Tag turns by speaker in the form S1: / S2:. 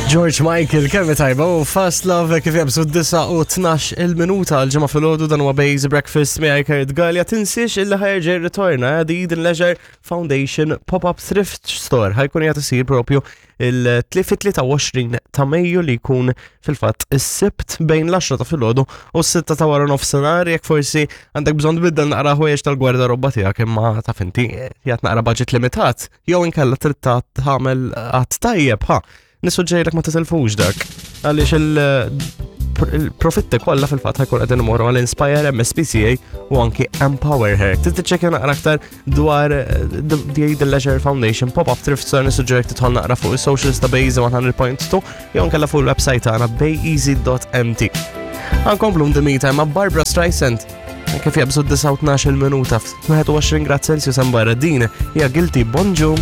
S1: George Michael, kemm tajba u Fast Love kif jabżu 9 u 12 il-minuta għal-ġimgħa filgħodu dan huwa Base Breakfast miegħi Kurt Gallia. Tinsiex illi ħajerġa' ritorna eh, The Eden Leisure Foundation Pop-Up Thrift Store ħajkun qiegħed isir propju il-23 ta' Mejju li jkun fil-fatt is-Sibt bejn l-10 ta' filgħodu u s-6 ta' wara nofsinhar jekk forsi għandek bżonn tbiddel naqra ħwejjeġ tal-gwardarobba tiegħek imma taf inti jgħat naqra budget limitat jew inkella trid tagħmel qatt tajjeb ha nissuġġerilek ma titilfux dak għaliex il- il-profitti kollha fil-fatt ħajkun qegħdin imorru għal Inspire MSPCA u anki Empower Her. Trid tiċċekkja naqra aktar dwar eh, the The Leisure Foundation pop-up thrift store nissuġġerik tidħol naqra fuq is-socials ta' Bejza 100.2 jew nkella fuq il-website tagħna bayeasy.mt. Għankomplu ndimita ma' Barbara Streisand kif jabżu 19 minuta f'21 grad Celsius hemm barra din hija guilty bonġu.